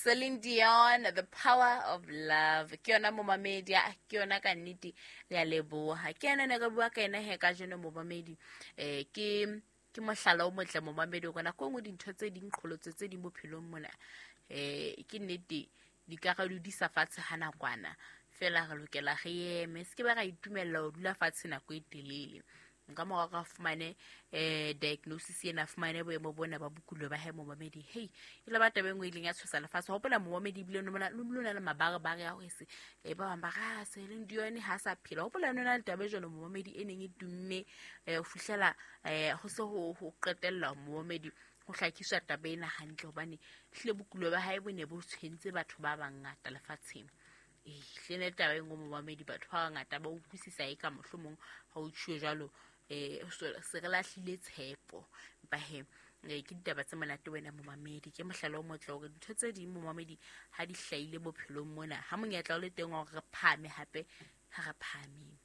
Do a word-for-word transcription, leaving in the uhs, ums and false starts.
Celine Dion, The Power of Love. Ke yona, momamedi, ah, ke yona ka nnete. Re a leboha. Ke yena ne re bua ka ena he kajeno, momamedi. Eh ke ke mohlala o motle, momamedi, hore nako e nngwe dintho tse ding, qholotso tse ding bophelong mona, eh ke nnete di ka re dudisa fatshe ha nakwana fela. Re lokela re eme, se ke ba ra itumella ho dula fatshe nako e telele. Nka mora ka fumane eh diagnosis ena, fumane boemo bona ba bokulo ba hae, momamedi. Hey, e le ba taba e nngwe e ileng ya tshosa lefatshe. Hopola, momamedi, ebile no na le mabarebare a hore se eh ba bang ba ra Celine Dion ha sa phela. Hopola, no na le taba e jwalo, momamedi, e neng e tumme eh ho fihlela eh ho se ho ho qetella, momamedi, ho hlakiswa taba ena hantle, hobane hlile bokulo ba hae bo ne bo tshwentse batho ba bangata lefatsheng. Ehlile ne taba e nngwe, momamedi, batho ba bangata ba utlwisisa e ka mohlomong ha o tjhuwe jwalo, eh se re lahlile tshepo. Empa he, eh, ke ditaba tse monate wena, momamedi. Ke mohlala o motle hore dintho tse ding, momamedi, ha di hlahile bophelong mona, ha monyetla o le teng wa hore re phahame hape, ha re phahameng.